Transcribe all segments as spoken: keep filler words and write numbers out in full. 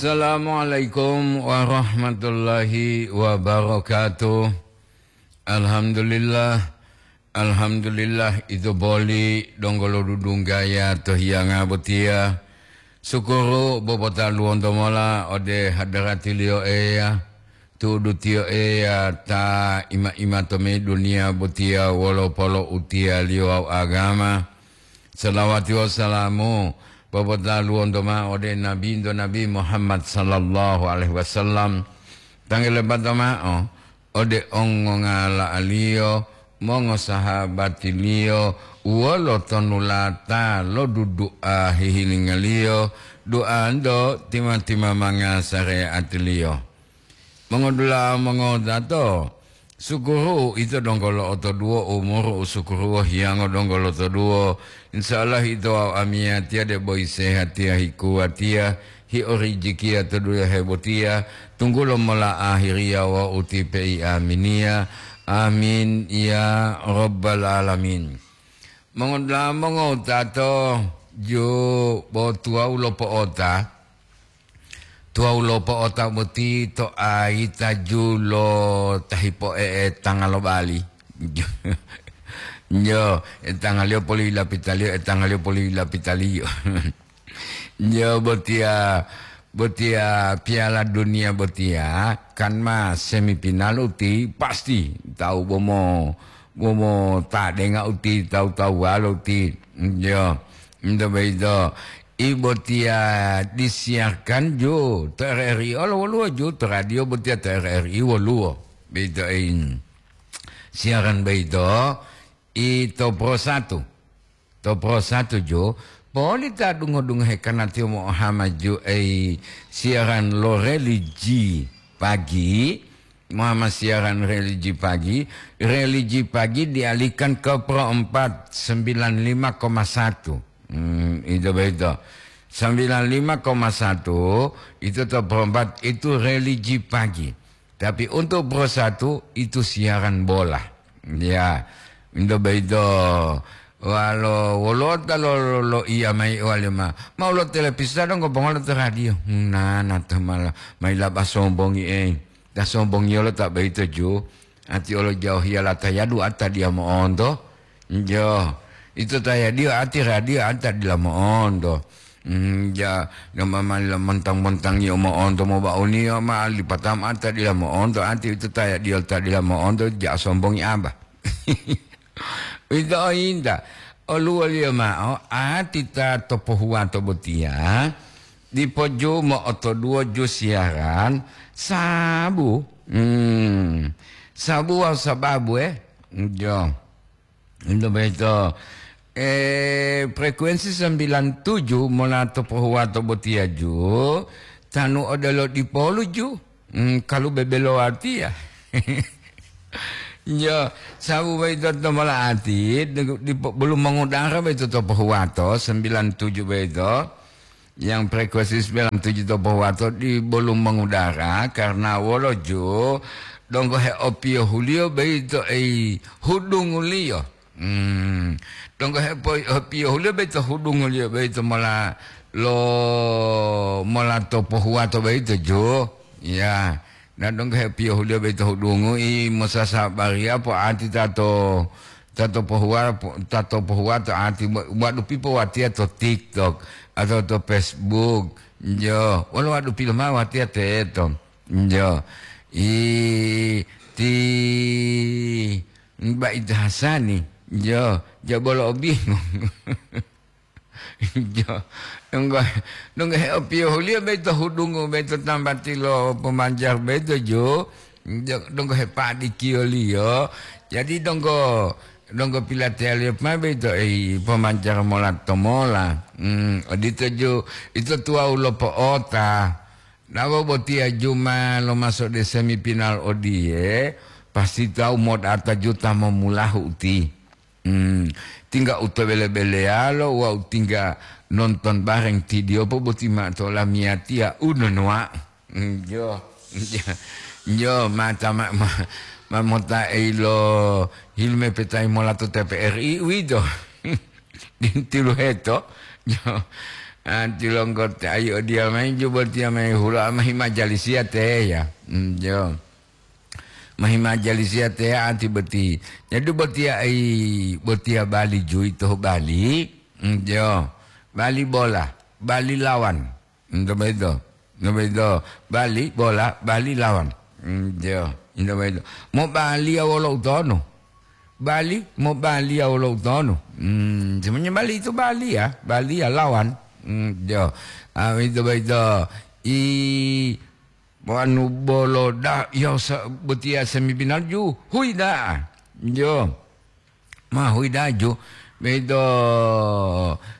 Assalamualaikum warahmatullahi wabarakatuh. Alhamdulillah, alhamdulillah, ito boli donggo lo dudunggaya to hiyanga botiya. Sukuru bobotaluwonto mola ode hadaratiliyo Eya, tu'udu tiyo Eya ta ima-ima to me duniya botiya wolo polo'utiyaliyo wawu agama. Salawati wawu salamu popotaluwonto mao ode Nabinto Nabi Muhammad sallallahu alaihi wasallam, tangelebato mao ode ongongala'aliyo, mongosahabatiliyo, wolo tonulata lo dudu'a hihilinga-Liyo, du'anto tima-timamanga sare'atiliyo. Mongodula'a mongotato, sukuru ito donggo lo'otoduwo umuru u sukuru hiyango donggo lotoduwo. Insya Allah ito wawu amiyatiya debo isehatiya hikuwatiya, hiorijikiya to duniya hebotiya, tunggulo mola ahiriya wawu ti pei aminiya. Amin ya rabbal alamin. Mongodula'a mongotato, ju bo tuwawu lo po'ota. Tuwawu lo po'ota boti to ayita ju lo ta hipo'e'etanga lo bali. Jo, etangaliyo poli lapitaliyo, etangaliyo poli lapitaliyo. Jo, botiya, botiya Piala Dunia botiya kan ma semifinal uti pasti tawu bomo, bomo tadenga uti tawu-tawuwalo uti. Jo, ento boyito. I botiya disiarkan ju to R R I olo woluwo ju, to radio botiya to R R I woluwo. Beito ei. Siaran boyito i to Pro satu. To Pro satu ju, poli ta dungo-dungohe karna tiyo mo'ohama ju ei siaran lo religi pagi, Muhammad siaran religi pagi, religi pagi dialihkan ke Pro empat, sembilan lima koma satu. Hmm, itu begitu. Sembilan lima koma satu itu to Pro empat itu religi pagi. Tapi untuk Pro satu itu siaran bola. Ya, itu begitu. Walo wolota lo, lo, lo iya mai wali ma. Mau lo televisa dong, ko pongolo to radio. Nah, nah, to malah mai laba sombongi, eh. Ta sombongiyolo ta boyito ju, ati olo jaohiya la ta yadu ata diya mo'onto. Jo, ito ta yadiyo ati radio ata dila mo'onto. Hmm, ja, dama mani la montang-montangiyo mo'onto mobauniyo ma lipatama ata dila mo'onto, ati ito ta yadiyo ta dila mo'onto, ja sombongi aba. Uwito oyinta, oluwoliyo mao ati ta to pohuwato botiya, dipo ju mo'otoduwo ju siaran sabu. Hmm. Sabu wawu sababu, eh? Jo. Ento boyito, eh, frekuensi sembilan tujuh mola to pohuwato botiya ju, tanu odelo dipolu ju. Hmm, kalu bebelo watiya. Jo, sabu boyito to mola ati, di, di, belum mengudara boyito to pohuwato, sembilan tujuh boyito. Yang frekuensi sembilan tujuh to pohuwato di belum mengudara, karena wolo ju, donggo heopiyohuliyo boyito ei hudunguliyo. Hmm. Donggo hepo-, hepiyohuliyo boyito hudunguliyo boyito mola lo, mola to pohuwato boyito ju. Ya. Na donggo hepiyohuliyo boyito hudungu i mosasabariya po'ati tato, tato pohuwa-, po-, tato pohuwato ati wa-, wadupi powatiya to TikTok atau to Facebook. Jo, wolo wadupi lomao watiya teto. Jo. I ti Mbak Ida Hasani, jo, jabolo obingung. Jo, donggo, donggo heopiyohuliyo boyito hudungu boyito tambati lo pemanjar boyito ju, jo, donggo hepadikiyoliyo. Jadi donggo, donggo pilateyaliyo ma boyito ei pemanjar mola to mola. Hmm, odito ju, ito tuwawu lo po'ota. Nawo botiya ju ma lomaso de semifinal odiye, pasti tawu modata ju ta momulahu uti. Hmm, tingga u to bele-beleyalo wawu tingga nonton bareng tidiyopo boti mao to lamiyatiya u nonowa. Hmm, jo, jo, jo, mata ma, ma, ma mota eilo hilme petai mola to T P R I uwito. Dintiluheto, jo. Anti longgote ayi odiya mayi ju botiya mayi hula mahi majalisiya teya. Mm, jo. Mahi majalisiya teya anti boti. Jadi botiya ai, botiya bali ju ito bali. Mm, jo. Bali bola, bali lawan. Ento boyito. Ento boyito. Bali bola, bali lawan. Mm, jo. Ento boyito. Mo bali ya wolo utono. Bali, mo bali ya wolo utono. Hmm, sebenarnya bali itu bali ya, bali ya lawan. Hmm, jo. Ah, itu boyito. I wanu bolo da, ya sa-, botiya semifinal ju, hui da. Jo. Ma hui da ju. Boyito,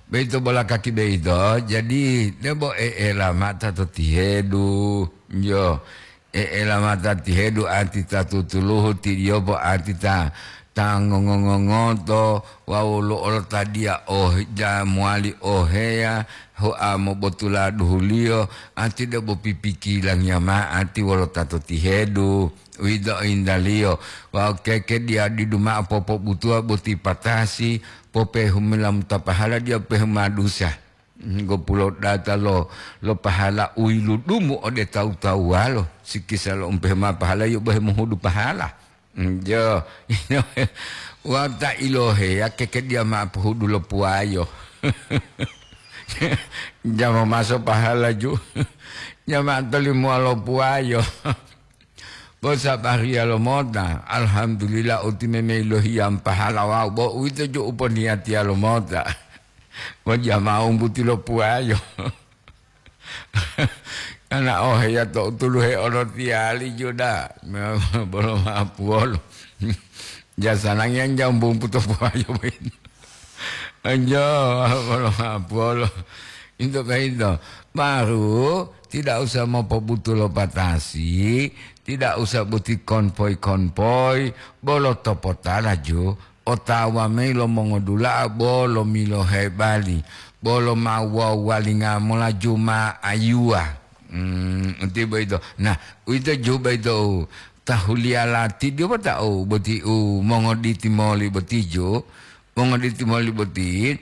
boyito bola kaki boyito. Jadi, debo e'ela mata to tihedu. Jo. E'ela mata tihedu anti ta tutuluhu tidiyopo anti ta, ta ngongo-ngongoto wawu lo olotadiya ohe-, ja mowali oheya hoa mobotula duhuliyo, anti debo pipikilangiya ma'o anti wolo ta to tihedu, uwito oyintaliyo wawu keke diya didu ma'o popobutuwa boti patasi, popehumila mutapahala diya pehuma dusa. Ngopulo data lo, lo pahala u yiludumu ode tawu-tawuwalo, sikisa lo umpehe ma pahala yo bohe mohudu pahala. Jo, wata iloheya keke diya ma pohudu lo puwayo. Jama maso pahala ju. Jama tolimowa lo puwayo. Bo sabariya lomota, alhamdulillah, uti meme ilohiyam pahala wawu, bo uwito ju uponiyatiya lomota. Bo jama'u umbuti lo puwayo. Kana oheya to utuluhe olotiyali juda, bolo mapuwolo. Jasanangiyan jambumpu to puwayo boyito. Anjo, bolo mapuwolo. Into boyito. Baru tidak usah mopobutulo patasi, tidak usah boti konvoy-konvoy, bolo topotala ju, otawa mayi lo mongodula'a bolo milohe bali, bolo ma wawalinga mola ju ma ayuwa. Hmm, uti boyito. Nah, uwito ju boyito u tahuliya lati diyo bota u boti u mongoditi moli boti ju, mongoditi moli boti,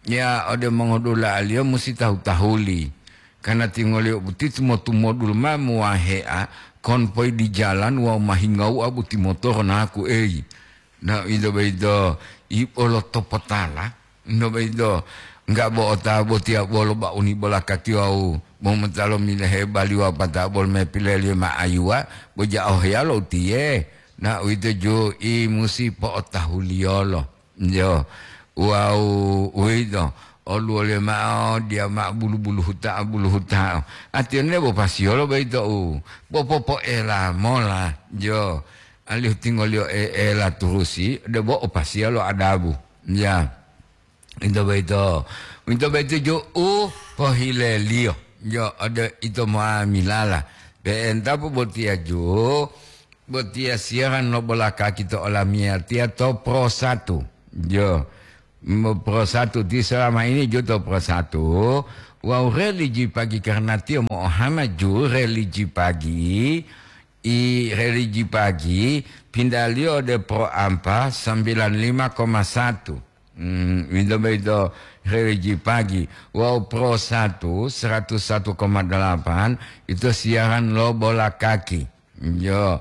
ya ode mongodula'aliyo musi tahu-tahuli. Karna tingoliyo boti tumo-tumodulu ma muwahe'a konvoy di jalan wawu ma hingawu'a boti motoro naku eyi. Na, ito boyito, i bolo topotala, ito boyito, enggak bo otawa botiya bolo bauni bola kaki wawu momotalo milehe bali wawu pata bolo mepileliyo ma ayuwa, bo ja'o heyalo utiye. Na, uwito ju i musi po'otahuliyolo. Jo, wawu uwito, oluwoliyo ma'o diya ma'o bulu-bulu huta'a, bulu huta'a. Atiyone bo pasiyolo boyito u, bo popoela mola, jo. Alihu tingoliyo e'ela turusi, debo opasiya lo adabu. Ya. Ito boyito. Ito boyito ju u pohileliyo. Jo, ode ito muamilala. Pe'entapo botiya ju, botiya siyaran lo bola kaki to olamiyatiya to Pro Satu. Jo. Mo-, Pro Satu ti selama ini ju to Pro Satu. Wawu religi pagi karna tiyo mo'ohama ju religi pagi. I religi pagi, pindaliyo ode Pro Ampa sembilan lima koma satu. Hmm, wito boyito religi pagi. Wawu Pro Satu, seratus satu koma delapan, ito siyaran lo bola kaki. Jo,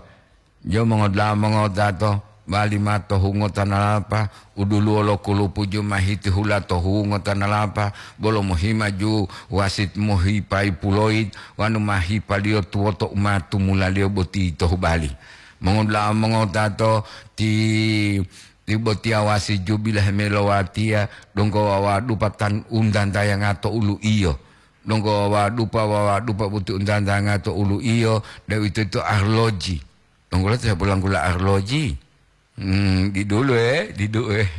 jo mongoda'a mongotato, bali ma to hungo tanalapa, uduluwo lo kulupu ju ma hitihula to hungo tanalapa, bolo mohima ju wasit mohipayi puloyi, wanu ma hipaliyo tuwoto u ma tumulaliyo boti to hubali. Mongoda'a mongotato ti, ti botiya wasit ju bilahe melowatiya, donggo wawadupa tan undantayanga to ulu'iyo. Donggo wawadupa, wawadupa boti undantayanga to ulu'iyo, deuwitoyito arloji. Donggo lo ta hepolanggula arloji. Hmm, didulu, eh, didu, eh.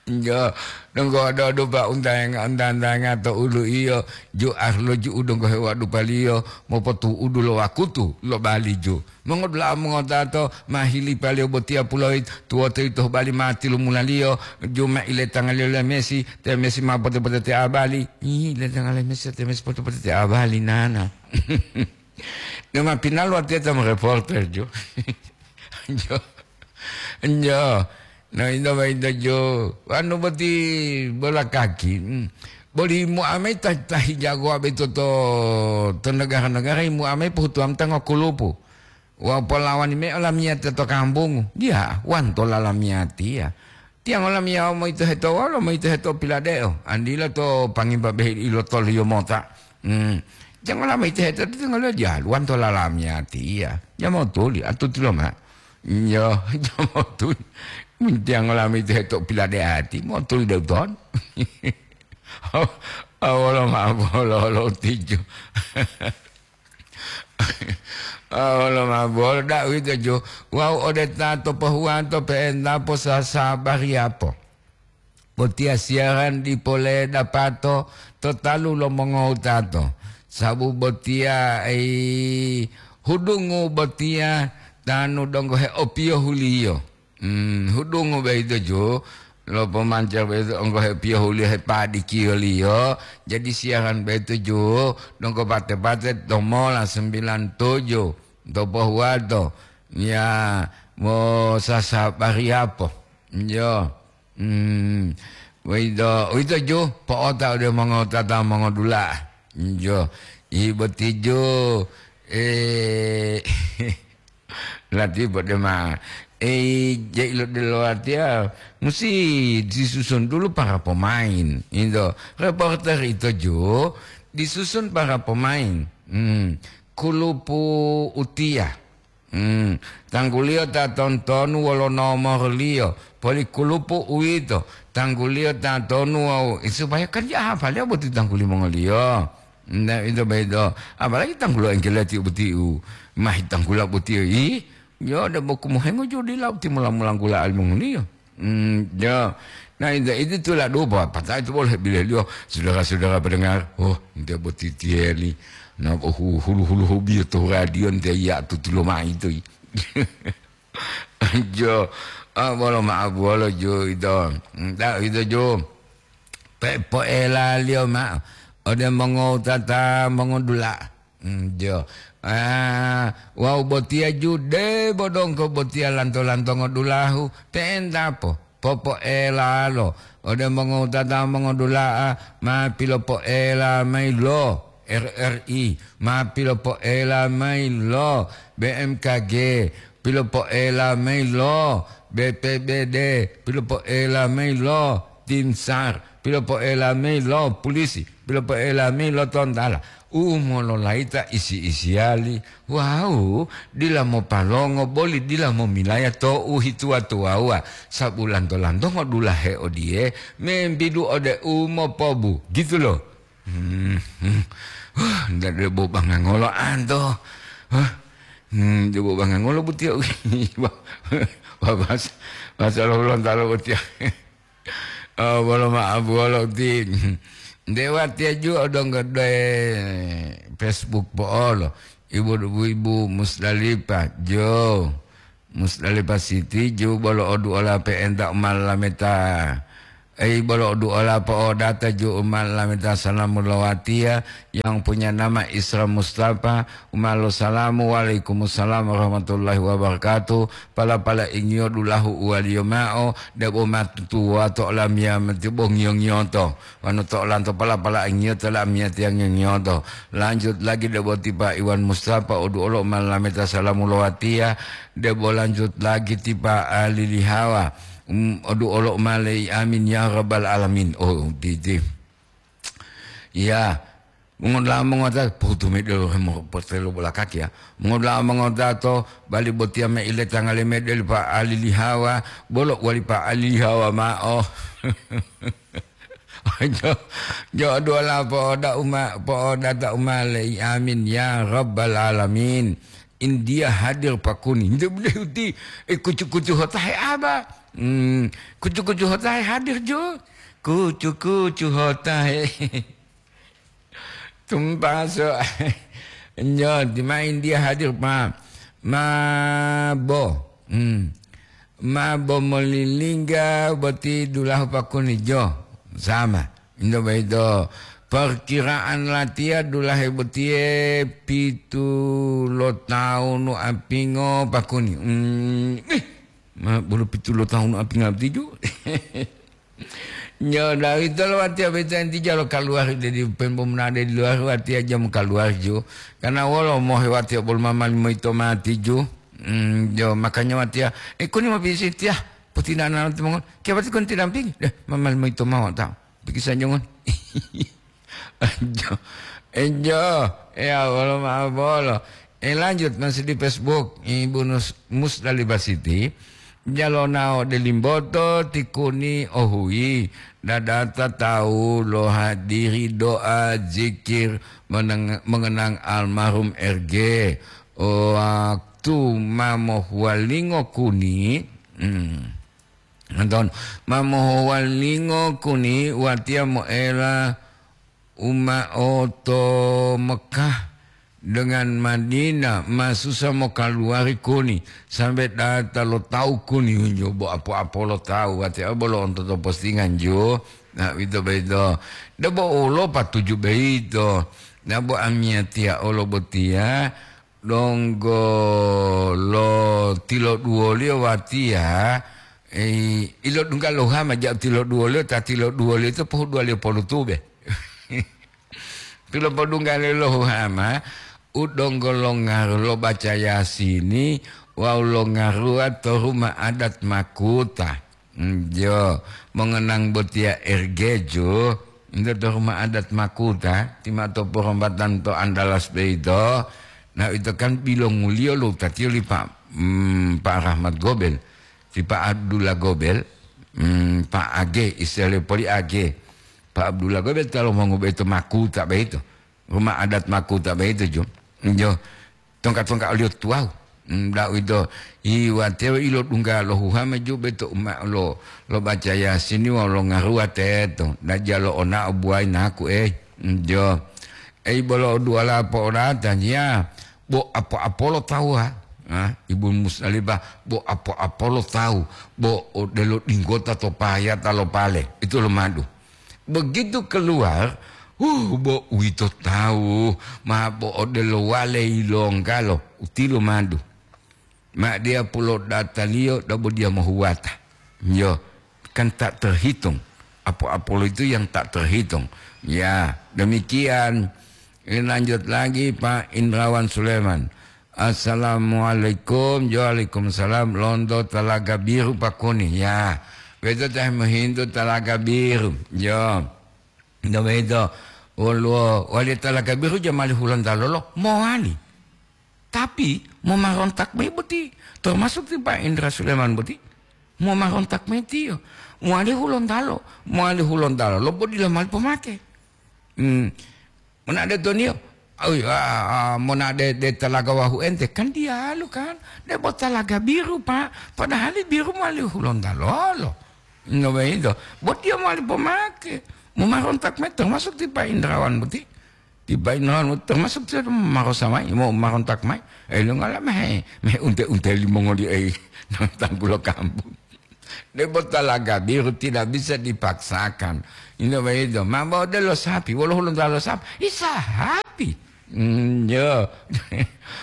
Jo, donggo odo-odo pa untayanga, untantayanga to ulu'iyo, ju arloji u donggo hewadupaliyo, mopotu'udu lo wakutu lo bali ju. Mongodula'a mongotato, ma hilipaliyo botiya puloyi, tuwoto yito bali ma tilumulaliyo, ju ma iletangaliyo le Messi, te Messi ma pote-pote te abali. Ih, iletangaliyo Messi, te Messi pote-pote te abali, nana. Dema pinal watiya ta reporter, jo. Jo. Jo. No, ito boyito ju. Wanu boti bola kaki. Hmm. Boli muamai ta, ta hijagowa boyito to, to negara-negara, muamai pohutuwam ta ngokulupu. Wawu polawani mao lamiyatiya to kambungu. Diya, wantola lamiyatiya. Tiyangola miyawa moyito heto wolo, moyito heto piladeo. Andila to pangimba behi ilotoliyo mota. Hmm. Jangola moyito heto, tiyangola diyalu, wantola lamiyatiya. Jamotuli, atutilo ma. Yo, jamotuli. Tiyangola moyito heto piladeati, motuli deuton. Awolo ma bolo lo tiju. Awolo ma bolo da uwito ju. Wawu ode ta to pohuwato pe'enta posasabariyapo. Botiya siyaran dipo ledapato to talu lo mongowutato. Sabu botiya, ei, hudungu botiya tanu donggo heopiyohuliyo. Hmm, hudungu boyito ju, lo pomanca boyito onggo hepiyohuliyo hepadikiyoliyo, jadi siyaran boyito ju, donggo pate-pate to mola sembilan tujuh, to pohuwato, ya, mosasabariyapo. Yo. Hmm, boyito, uwito ju, po'ota ode mongotata mongodula'a. Jo, i boti ju, eh, lati podema. Eh, jai lo delo watiya, musi disusun dulu para pemain. Itu, reporter itu ju, disusun para pemain. Hmm, kulupu utiya. Hmm, tangguliyo ta tontonu wolo nomorliyo, poli kulupu uwito, tangguliyo ta tonu wawu, eh, supaya kan ja hafaliyo boti tangguli mongoliyo. Nde, ito boyito. Apalagi tanggulo engkeleti botiu, mahi tanggula botiu, ih, yo, de boku mohengo jo dila boti mula-mulanggula alimongoliyo. Hmm, yo. Nah, itu, itu tulah dupa, pata'e itu boleh bileliyo, saudara-saudara pendengar. Oh, nte boti tiyeli. Nah, oh, hu-, hulu-hulu hobiyo to radio nte iya tutulo mai to. Jo, ah, bolo ma'abuwolo jo ito. Nta ito jo. Pe poelaliyo ma'o ode mongowutata mongodula'a. Mm, jo. Ah, wawu botiya ju debo donggo botiya lanto-lantongo dulahu, pe'entapo popoelalo ode mongowutata mongodula'a ma pilopoela mayi lo R R I, ma pilopoela mayi lo B M K G, pilopoela mayi lo B P B D, pilopoela mayi lo Tim SAR, pilopoela mayi lo pulisi, pilopoela mayi lo tontala, u mololayita isi-isiyali wawu dila mopalongo boli dila momilaya to u hituwa-tuwawuwa, sabu lanto-lantongo dulahe odiye membidu ode u mopobu, gitu lo. Hmm, hmm. Wah, nda debo bangangolo anto. Wah, hmm, debo bangangolo butiya. Wah, wah, bahasa, bahasa lo Gorontalo butiya. Oh, bolo ma'abuwolo ti. Nde watiya ju odonggo doe Facebook po'olo. Ibu, ibu Musdalifah, jo. Musdalifah City, ju bolo oduola pe'enta u ma lameta. Ei, bolo oduola po'odata ju u ma lameta salamu lo watiya yang punya nama Isra Mustafa, u ma losalamu, "Waalaikumsalam warahmatullahi wabarakatuh." Pala-pala ingiyo dulahu uwaliyo ma'o, debo matutuwa to olamiya mati bo ngiyo-ngiyoto. Wonu to olanto pala-pala ingiyoto lamiya tiyangiyo-ngiyoto. Lanjut lagi debo ti Pa Iwan Mustafa, oduolo ma lameta salamu lo watiya, debo lanjut lagi ti Pa Alilihawa. Um, oduolo ma lei amin ya rabbal alamin. Oh, titi. Ya, Mongoda'a mongota, pohutu mayi delo hemo-, potelo bolakaki ya. Mongoda'a mongota to bali botiya me ile tangale me deli Pa Alilihawa, bolo wali Pa Alilihawa ma'o. Jo, jo duwala po'oda uma, po'odata uma lei. Amin ya rabbal alamin. India hadir pakuni. Nde bule uti, eh, kucu-kucu hotahe aba. Hmm, kucu-kucu hotahe hadir jo. Kucu-kucu hotahe. Tumpaso. Nyo, ti ma India hadir, ma, ma bo. Hmm. Ma bo molilingga boti dulahu pakuni jo. Sama. Indo boyito. Perkiraan latiya dulahe botiye pitu lo tawunu apingo pakuni. Hmm. Ih, ma bolo pitu lo tawunu apinga boti ju. Nyo, da uwitolo watiya boyito enti jalo kaluwari, dedi pembo munade di luwari watiya jamu kaluwari ju. Karena wolo mohe watiya bolo mama limoyito mati ju. Mm, jo, makanya watiya, eh, kuni mapisi tiya, potinana timongol. Kiyobati kuni tidampingi? Deh, mama limoyito mawata'o. Pikisa jongon. Enjo, enjo, ya, bolo ma'o bolo. Eh, lanjut masih di Facebook, Ibu Nus-, Musdalifah Siti. Jalonao delimboto tikuni ohui, dadata tawu lo hadiri doa zikir meneng-, mengenang almarhum R G. Waktu ma mohuwalingo kuni, hmm, Anton, ma mohowalingo kuni watiya moela uma'o to Mekah dengan Madinah, ma susa mokaluwari kuni, sambe data lo tawu kuni hunjo bo apo-apo lo tawu, watiya bolo onto to postingan ju, na, uwito boyito. Debo ulo patuju boyito, na bo amiyatiya olo botiya, donggo lo tiloduwoliyo watiya, eh, ilodungga lo hama ja'u tiloduwoliyo, ta tiloduwoliyo to pohuduwaliyo polutube. Pilopodunggaliyo lo hama, u donggo longaru lo baca Yasini wawu longaruwa to ruma adat Makuta. Njo, mongenang botiya R G ju, nto to ruma adat Makuta, ti ma to porombatan to Andalas boyito, na ito kan bilonguliyo lo utatiyo li Pa, mm, Pa Rahmat Gobel, ti Pa Abdullah Gobel, mm, Pa Age, istilah poli Age. Pa Abdullah Gobel ta lomongu boyito Makuta boyito. Ruma adat Makuta boyito ju. Njo, tongka-tongka oliyo tuwawu. Mm, da uwito, i watewa ilodungga lo huhama ju boyito uma lo, lo baca Yasini wawu longaruwa teto. Da jalo onao buwayi naku, eh. Njo. Ei bolo duwala po'odata, ya. Bo apo-apolo tawu, ha? Ah, Ibu Musdalifah, bo apo-apolo tawu, bo odelo dinggota to payata lo pale. Itu lo madu. Begitu keluar, uh, bo uwito tawu, ma bo odelo wale yilonggalo, utilo madu. Ma diya pulo dataliyo, dabo diya mohuwata. Yo, kan tak terhitung. Apo-apolo itu yang tak terhitung. Ya, demikian. Ini lanjut lagi, Pak Indrawan Suleman. Assalamualaikum. Waalaikumsalam. Lonto Talaga Biru pakuni. Ya. Beto teh mohintu Talaga Biru. Yo. Nto beto. Woluwo wali Talaga Biru jamali Hulontalo lo. Mowali. Tapi, momarontak mayi boti. Termasuk ti Pak Indra Suleman boti. Momarontak mayi tiyo. Mowali Hulontalo. Mowali Hulontalo. Lo bo dila mali pomake. Hmm. Monade toniyo, awi, ah, ah, monade de Talaga Wahu ente, kan diyalu kan, debo Talaga Biru, Pak, padahali biru mowali Hulontalo. No begitu, bo tiyo mowali pomake, momarontak mayi termasuk ti Pak Indrawan boti. Ti Pak Indrawan boti termasuk tiyo marosa mayi, momarontak mayi. Eh, lo ngala mehe, mehe unte-unte limongoli, eh, tanggulo kampung. Debo Talaga Biru tidak bisa dipaksakan. Ino begitu. Ma bo odelo sapi, wolo Hulontalo sapi, i sapi. Mm, yo.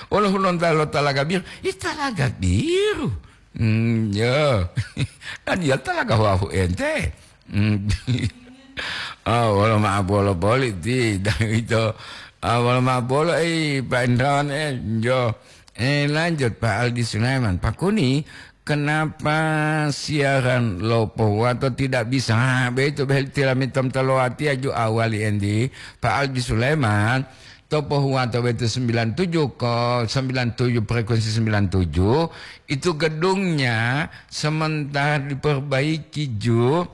Wolo Hulontalo Talaga Biru, i Talaga Biru. Mm, yo. Kan dia Talaga Wahu ente. Mm. Ah, wolo ma'o bolo boli ti, dan itu. Ah, wolo ma'o bolo, eh, Pak Indrawan, eh, yo. Eh, lanjut, Pak Aldi Sulaiman. Pak Kuni, kenapa siaran lo pohuwato tidak bisa? Ah, begitu, begitu, tilami tom tolowati aju awali endi. Pak Aldi Sulaiman, to pohuwato begitu sembilan tujuh ko, sembilan tujuh, frekuensi sembilan tujuh, itu gedungnya sementara diperbaiki ju,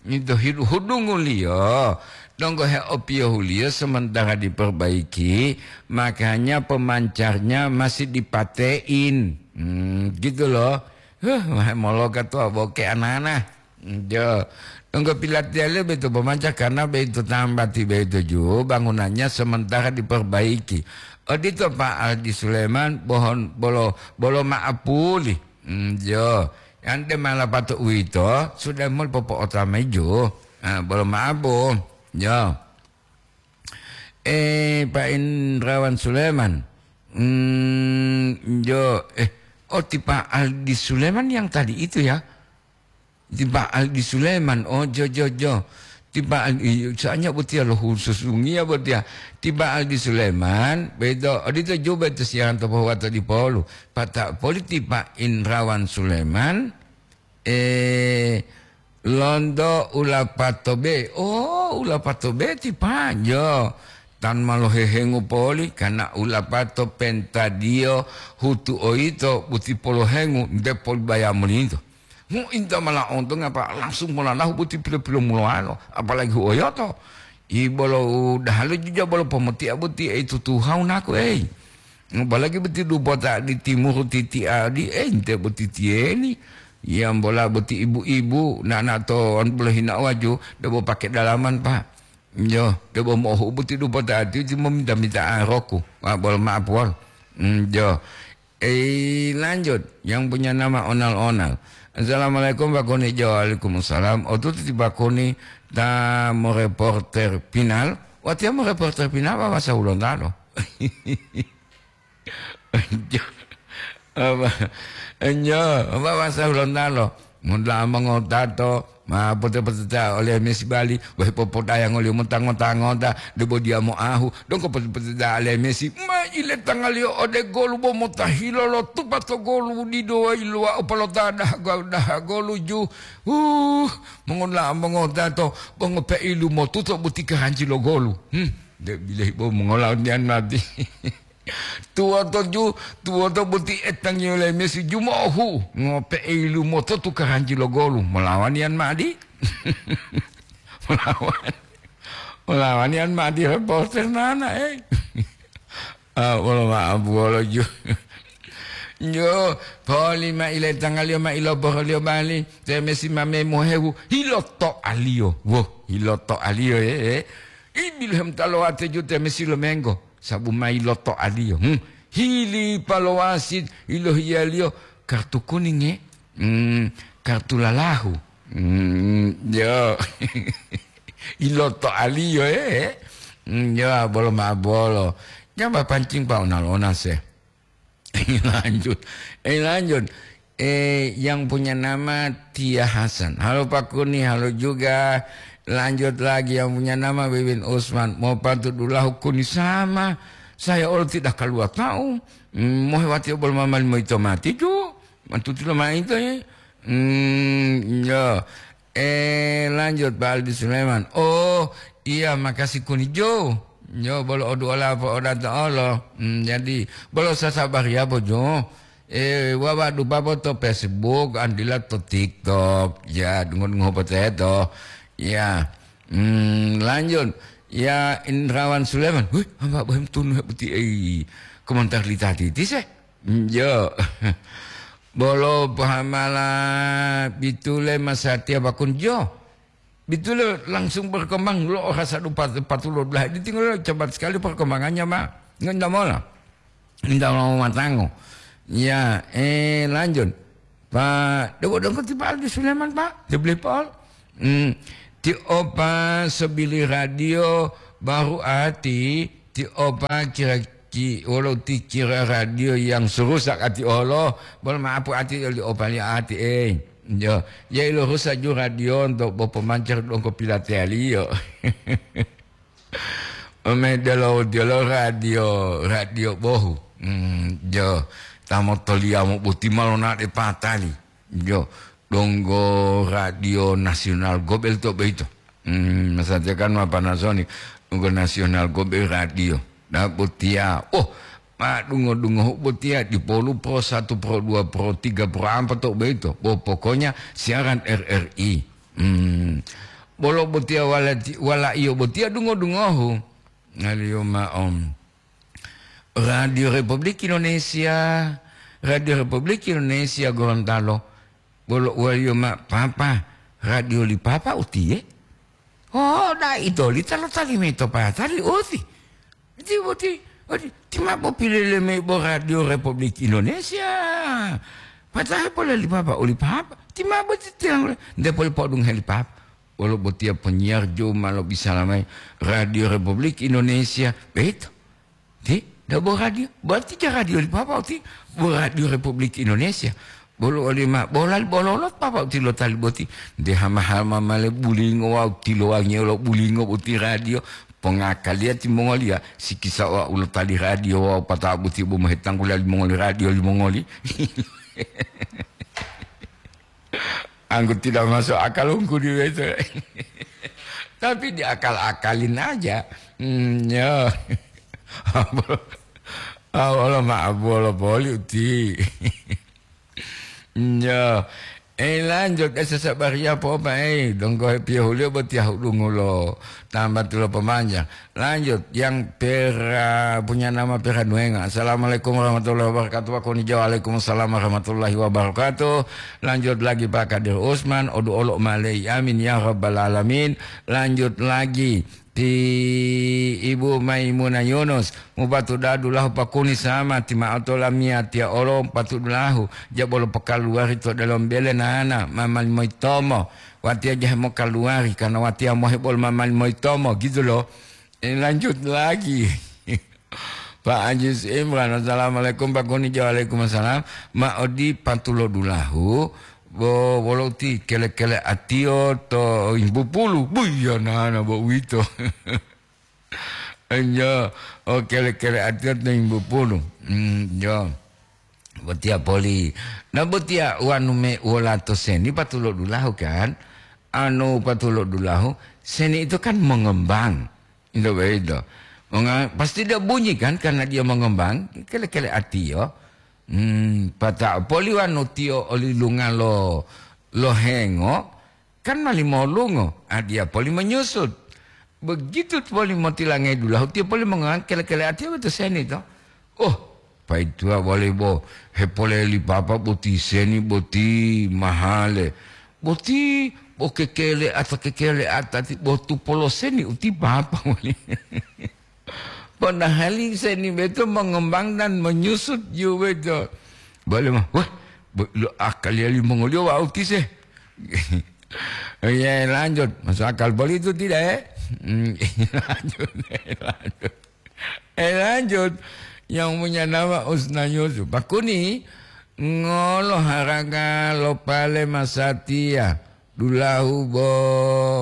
itu hidu-, hudunguliyo, donggo heopiyohuliyo sementara diperbaiki, makanya pemancarnya masih dipatein. Hmm, gitu loh. Huh, moloka tuwa boke anana. Jo, donggo pilatiyaliyo boyito bomanca karena boyito tambati boyito ju bangunannya sementara diperbaiki. Odito Pak Haji Sulaiman, bohon bolo, bolo ma'apuli. Hmm, jo, yante malapato uwito, sudah mul popo'otamayi ju. Ah, bolo ma'apu. Jo. Eh, Pak Indrawan Sulaiman. Hmm, jo, eh, oh, ti Pak Aldi Sulaiman yang tadi itu ya? Ti Ba'al di Suleman, oh, jo, jo, jo. Ti Ba'al di, soalnya botiya lo khusus dungiya botiya. Ti Ba'al di Suleman, beto, odito juga itu siaran to Pohuwato di Polu. Pata politi Pak Indrawan Suleman, eh, londo ulapato be. Oh, ulapato be ti Pak, jo. Tan ma lohehengu poli, karena ulapato pentadiyo hutu oyito buti polohengu nte poli baya molinto. Hu'inta mala onto ngapa langsung molalahu boti pilo-pilo mulowalo, apalagi hu'oyoto. I bolo udaha lo juja bolo pomoti'a boti ei tutuhau naku ei. Apalagi boti dubota di timuru titi'a di ei nte boti tiyeni. Yambola boti ibu-ibu nana to bolo hina'o waju debo pake dalaman, Pak. Yo, debo mo'ohu boti dubota ati uti mominta-minta aroku. Wa bolo ma'apuwal. Mm, yo. Eh, lanjut, yang punya nama Onal-Onal. Assalamualaikum, Pak Koni. Jo, waalaikumsalam. Otutu ti Pak Koni ta moreporter pinal. Watiya moreporter pinal, Pak, bahasa Hulontalo. Jo, apa? Jo, apa bahasa Hulontalo? Mun la mongotato, ma pote-poteta ole mesi bali, wehe popodayangoliyo motangota-ngota, debo diya moahu, donggo pote-poteta ole mesi, ma iletangaliyo ode golu bo motahilo lo tupa to golu dido wayiluwa opalota daha, daha golu ju. Uh, mongola mongotato, bo ngope'ilu motuto boti kahanci lo golu. Hmm, de bilehi bo mongolaoniyan mati. Tuwoto ju, tuwoto boti etangiyo le mesi jumohu, ngope'ilu mototu kahanci lo golu, molawaniyan ma'adi? Molawan-, molawaniyan ma'adi reporter nana, eh. Ah, wolo ma'abu wolo ju. Jo, poli ma ile tangaliyo ma iloboroholiyo bali, te mesi ma memohewu, hiloto'aliyo. Wo, hiloto'aliyo, eh, eh. Ibilu hemtalowate ju te mesi lomenggo. Sabu ma iloto'aliyo. Hmm. Hili palowasit, ilohiyaliyo kartu kuning, eh. Hmm, kartu lalahu. Hmm, yo. Iloto'aliyo, eh. Hmm, yo, bolo ma bolo. Jamba pancing pa onal-onal se. Lanjut. Eh, lanjut. Eh, yang punya nama Tia Hasan. Halo Pak Kuni, halo juga. Lanjut lagi yang punya nama Wiwin Usman. Mau pantun dulahu Kuni sama. Saya olo tidak keluar tahu. Hmm, mohe wati obol mamali moito mati ju. Mantuti lo maito ya. Hmm, ya. Eh, lanjut Pak Aldi Sulaiman. Oh, iya, makasih Kuni Jo. Jo, bolo odu ola apa oda ta olo. Hmm, jadi, bolo sasabari apa Jo? Eh, wawa dupa po to Facebook, andila to TikTok. Ya, dungo-dungo po teto. Ya. Hmm, lanjut. Ya, Indrawan Sulaiman. Wih, hamba bohem tunu he boti, eh, komentar li tati. Tise? Hmm, jo. Bolo pahamala bitule masatiya bakun jo. Bitule langsung berkembang lo rasa dupa patulo belah. Ditinggal cepat sekali perkembangannya, Pak. Nggak, nggak mau lah. Nggak mau matango. Ya, eh, lanjut. Pak, debo dongko ti Pak Aldi Sulaiman, Pak. Dia beli Paul. Hmm. Ti opa sebili radio baru ati, ti opa kira ki, walau ti kira radio yang serusak ati olo, bol maapu ati oli opa li ati, eh. Yo, ya ilo rusak ju radio untuk bopo mancar dongko pilateliyo. Ome delo, delo radio, radio bohu. Hmm, jo, tamo toliamo buti malo na de patali. Jo, donggo radio nasional gobel to beito. Hmm, masatiya kan ma Panasonic, donggo nasional gobel radio. Da botiya. Oh, ma dungo-dungo botiya di Polu Pro satu, Pro dua, Pro tiga, Pro empat to beito. Bo pokoknya siaran R R I. Hmm. Bolo botiya wala, wala iyo botiya dungo-dungohu. Ngaliyo ma om. Radio Republik Indonesia, Radio Republik Indonesia Gorontalo. Bolo waliyo ma papa, radio li papa utiye. Oh, da ito li talo tali meto pa tali uti. Iti boti, oti, ti ma popilele me bo Radio Republik Indonesia. Patahe pole li papa, oli papa. Ti ma boti tiang le. Nde pole podung heli papa. Wolo botiya penyiar jo ma lobisala mayi Radio Republik Indonesia. Beito. Ti, da bo radio. Berarti ja radio li papa ti bo Radio Republik Indonesia. Bolo oli ma, bola, bololo papa utilo tali boti. De hama-hama male bulingo wawu tilowangiyo lo bulingo boti radio. Pongakaliya timongoliya, sikisa wa ulo tali radio wawu pata boti bo mohetangguliya limongoli radio limongoli. Anggo tidak masuk akal ungkudi weto. Tapi diakal-akalin aja. Hmm, ya. Awolo ma abolo poli uti. Ya. Eh, lanjut, eh, sesabariya po apa, eh, donggo piyohuliyo botiya hudungulo. Tambah tulo pemanja. Lanjut, yang pera, punya nama Pera Nuenga. Assalamualaikum warahmatullahi wabarakatuh. Wakoni Jawa, waalaikumsalam warahmatullahi wabarakatuh. Lanjut lagi Pak Kadir Usman, odu olo malei. Amin ya rabbal alamin. Lanjut lagi ti Ibu Maimunah Yunus, mupatuda dulahu pakuni sama ti ma'o to lamiyatiya olo patudulahu, jabolo pokaluwari to delomo bele nana, mamali moyitomo, watiya jahe mokaluwari, karena watiya mohe bolo mamali moyitomo, gitu loh. Eh, lanjut lagi. Pak Ajis Imran, assalamualaikum Pak Kuni, waalaikumsalam. Ma odi patulo dulahu, bo, wolo uti kele-kele atiyo to imbu pulu. Buya nana bo uwito. Enjo, o kele-kele atiyo to imbu pulu. Hmm, jo. Botiya poli. Nah, botiya wanu me wolato seni patulo dulahu kan? Anu patulo dulahu, seni itu kan mengembang. Itu begitu. Menga-, pasti dia bunyi kan karena dia mengembang, kele-kele atiyo. Hmm, pata poli wanu tiyo oli lunga lo, lo hengo, kan mali molungo, a dia poli menyusut. Begitu poli motilangai dulahu, tiyo poli mengang kele-kele atiyo betu seni to. Oh, paituwa wale bo hepoleli papa boti seni boti mahale. Boti bo kekele ata kekele ata ti botu poloseni uti papa wale. Padahal seni beto mengembang dan menyusut ju beto. Bale mah, wah, be-, lo akaliya limongoliyo wau tise. Iya, lanjut. Masuk akal boli itu tidak, eh? Hmm, lanjut, eh, lanjut. Eh, lanjut. Yang punya nama Usna Yusuf. Pakuni, ngolo haraga lo pale masatiya. Dulahu bo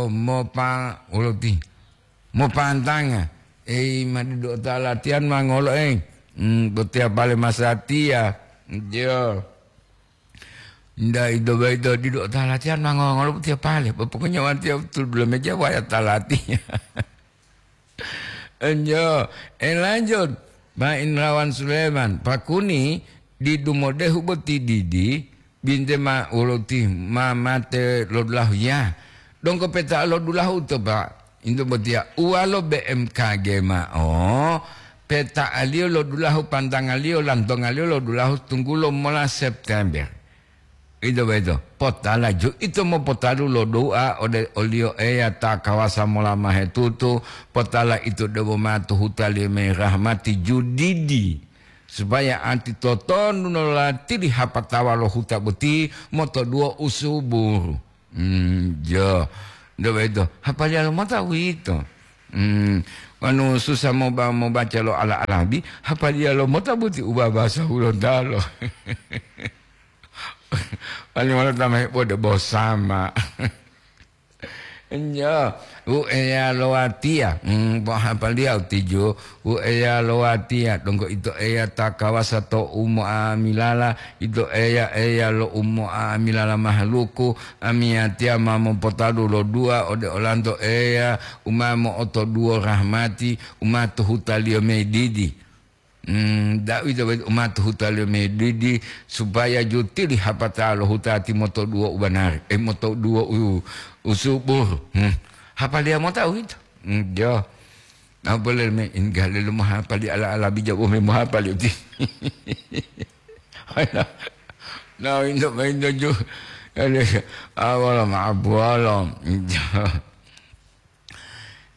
mopa-, uloti. Mopantanga. Ei, ma didu ta latihan ma ngolo, ei. Hmm, botiya pale masatiya. Yo. Nda ido baido didu ta latihan ma ngolo botiya pale. Pokoknya watiya betul belum meja waya ta latihan. Enjo, eh, lanjut. Pak Indrawan Sulaiman, pakuni didu modehu boti didi, binte ma wolo ti ma mate lo dulahu ya. Donggo peta lo dulahu to, Pak. Into botiya uwalo B M K G ma'o, peta'aliyo lo dulahu, pantangaliyo, lantongaliyo lo dulahu tunggulo mola September. Ito boyito, potala ju ito mopotalu lo do'a ode oliyo Eya ta kawasa mola mahetutu, potala ito debo matu huta lime rahmati ju didi, supaya anti totonu no latili hapatawa lo huta boti motoduwo usuburu. Hmm, jo. Ito boyito, hapaliya lo mota uwito. Hmm, wanu susa moba-, mobaca lo ala-alabi, hapaliya lo mota boti u babasa hulontalo. Wali wolo ta ma hepode bosama. Enjo, u Eya lo watiya, hmm, bo hapaliya u tijo, u Eya lo watiya, donggo ito Eya ta kawasa to umo'amilala, ito Eya, Eya lo umo'amilala mahaluku, amiyatiya ma mopotadu lo dua ode olanto Eya, u ma mo'otoduwo rahmati, u ma to hutaliyo medidi. Hmm, da'uwito boyito umati huta lo medidi, supaya jutili hapata lo huta timotoduwo u banari, eh, motoduwo u, u subur. Hmm. Hapaliya mota uwito. Hmm, jo. Na boleh me ingga lelu mohapali ala-ala bija bo me mohapali uti. Na indo, indo ju. Ale, awala ma abuala. Jo.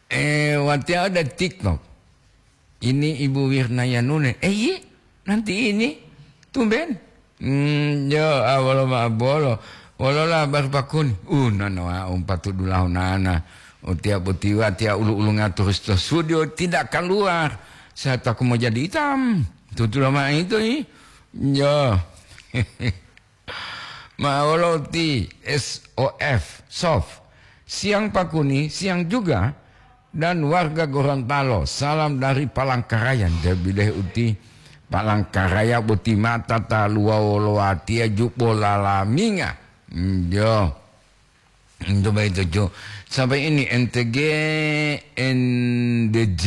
Eh, watiya ada TikTok. Ini Ibu Wirna Yanune. Eh, iya, nanti ini. Tumben. Hmm, yo, ah, wolo ma bolo. Wolola baru pakun. Uh, nana, ah, umpatu dulahu nana. Utia butiwa, tia ulu-ulu ngatur to studio, tidak keluar. Saya takut mau jadi hitam. Tutu lama itu, ih. Yo. Ma wolo ti S O F, sof. Siang Pak Kuni, siang juga. Dan warga Gorontalo, salam dari Palangkaraya. Nde bileh uti Palangkaraya boti mata taluwa wolo watiya jubo lalaminga. Njo. Njo baito jo. Sampai ini N T G, N D J.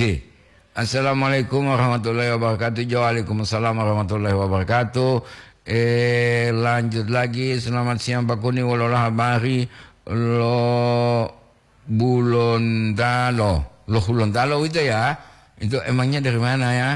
Assalamualaikum warahmatullahi wabarakatuh. Jo, waalaikumsalam warahmatullahi wabarakatuh. Eh, lanjut lagi. Selamat siang Pak Kuni, wolola habari lo Bulontalo. Lo Hulontalo itu ya? Itu emangnya dari mana ya?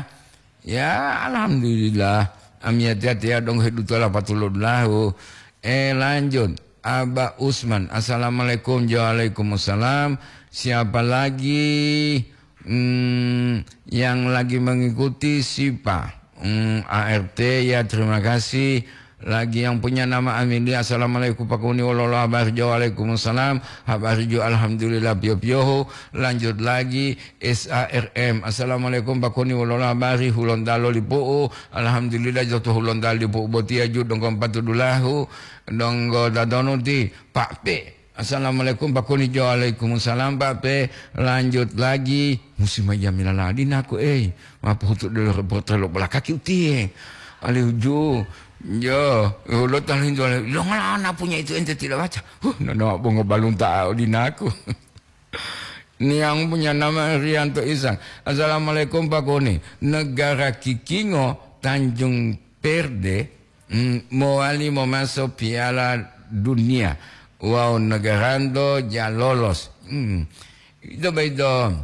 Ya, alhamdulillah. Amiyatiya-tiya dong hedutola patuludlahu. Eh, lanjut. Aba Usman. Assalamualaikum. Waalaikumsalam. Siapa lagi? Hmm, yang lagi mengikuti siapa? Hmm, A R T ya, terima kasih. Lagi yang punya nama Amelia. Assalamualaikum Pak Kuni, wolola habari jo? Waalaikumsalam. Habari jo alhamdulillah piyo-piyohu. Lanjut lagi S A R M. Assalamualaikum Pak Kuni, wolola habari? Hulontalo lipu'u. Alhamdulillah joto Hulontalo lipu'u botiya ju donggo patudulahu. Donggo dadonu ti Pak P. Assalamualaikum Pak Kuni jo? Waalaikumsalam Pak P. Lanjut lagi. Musim aja milaladi naku, eh. Mapuhutu dulu reporter lo belakaki utie. Alihu ju. Jo, lo talintu lo ngala ana punya itu ente tidak baca. Huh, nono bongo balunta odinaku. Niang punya nama Rianto Isan. Assalamualaikum Pak Kuni. Negara Kikingo Tanjung Perde, mm, mowali momaso Piala Dunia. Wawu negarando ja lolos. Hmm. Itu begitu.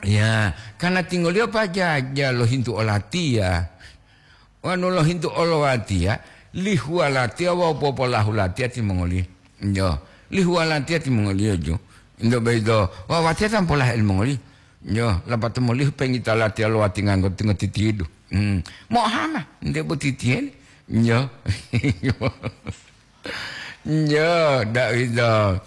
Ya, karena tinggoliyo pajaja lohintu olatiya. Wanu lohintu olowatiya, lihuwa latiya wawu popolahu latiya timongoliyo. Yo, lihuwa latiya timongoliyo ju. Indo boyito, wawatiya tampolahe limongoliyo. Yo, lapatao molihu pengita latiya lo watinganggo tingo titidu. Hmm. Mohama, nte bo titiyele. Yo. Yo, da'uwito.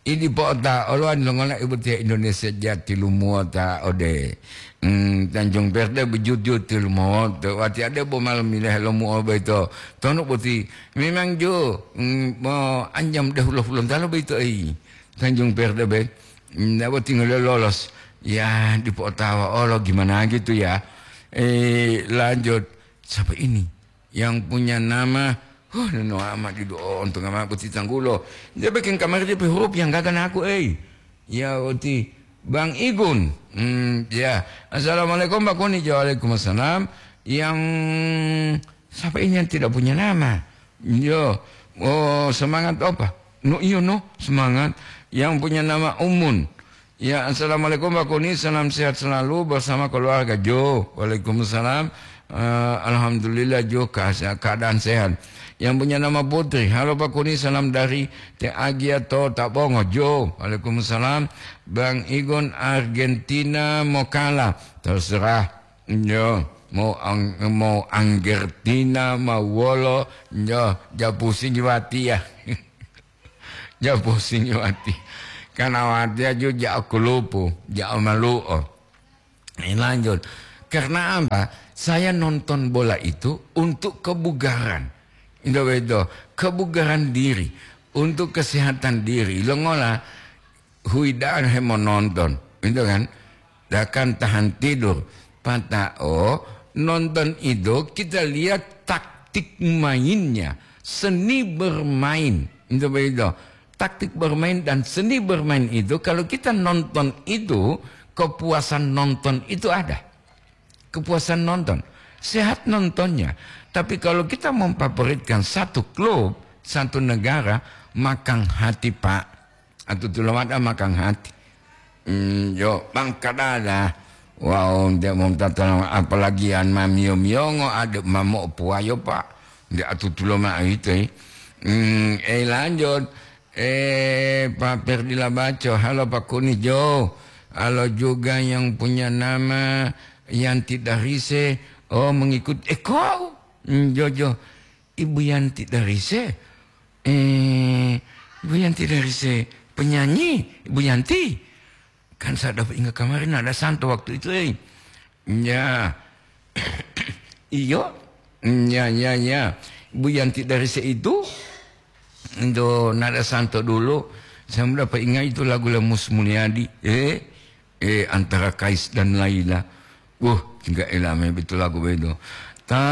Idi po'ota olo ani longola ibu tiya Indonesia jati lumuwota ode, mm, Tanjung Verde bujut-jut lumuwoto. Wati ade bo malam milahe lomuo boyito. Tonu boti memang jo, mm, mo anjam dehulo hulontalo boyito ei. Tanjung Verde be. Mm, nabo tinggal lolos. Ya, dipo'otawa olo gimana gitu ya. Eh, lanjut. Siapa ini? Yang punya nama, huh, neno amat didu o ontonga mao boti tanggulo. Dia bikin kamari dia pe huruf yang gaga naku, ei. Ya, oti Bang Igun. Hmm, ya. Assalamualaikum, Pak Kuni. Waalaikumsalam. Yang siapa ini yang tidak punya nama? Yo, oh, semangat apa? No, iyo, no, semangat. Yang punya nama Umun. Ya, assalamualaikum Pak Kuni, salam sehat selalu bersama keluarga Jo. Waalaikumsalam. Eh, alhamdulillah Jo, keha-, keadaan sehat. Yang punya nama Putri, halo Pak Kuni, salam dari Te Agia to Tabongo Jo. Waalaikumsalam. Bang Igon Argentina mokala, terserah. Yo, mau ang-, mau Anggertina, mau wolo, yo, ja pusing watiya. Ja pusing wati. Karena watiya ju ja kulupu, ja malu'o. Eh, lanjut. Karena apa? Saya nonton bola itu untuk kebugaran. Itu betul. Kebugaran diri, untuk kesehatan diri. Longola, huida'an hemononton, gitu kan? Bahkan tahan tidur. Pata'o nonton itu kita lihat taktik mainnya, seni bermain. Itu begitu. Taktik bermain dan seni bermain itu, kalau kita nonton itu, kepuasan nonton itu ada. Kepuasan nonton. Sehat nontonnya. Tapi kalau kita memfavoritkan satu klub, satu negara, makang hati, Pak. Atutulo mada makang hati. Hmm, yo, bangkadada. Wow, nde momtatala, apalagi an mamio-miongo, ade mamo puwayo, Pak. Nde atutulo ma ito, eh. Hmm, eh, lanjut. Eh, Pak Perdila Baco, halo Pak Kuni Jo. Halo juga yang punya nama Yanti Darise. Oh, mengikut. Eh, kau? Hmm, Jojo. Ibu Yanti Darise. Eh, Ibu Yanti Darise. Penyanyi, Ibu Yanti. Kan saya dapat ingat kemarin ada santo waktu itu, eh. Ya. Iyo. Ya, ya, ya. Ibu Yanti Darise itu. do nada santo dulu, saya mudah pa ingat itu lagu le Mus Mulyadi, eh, eh, antara Kais dan Laila. Wuh, tinggal elame betul lagu bedo. Ta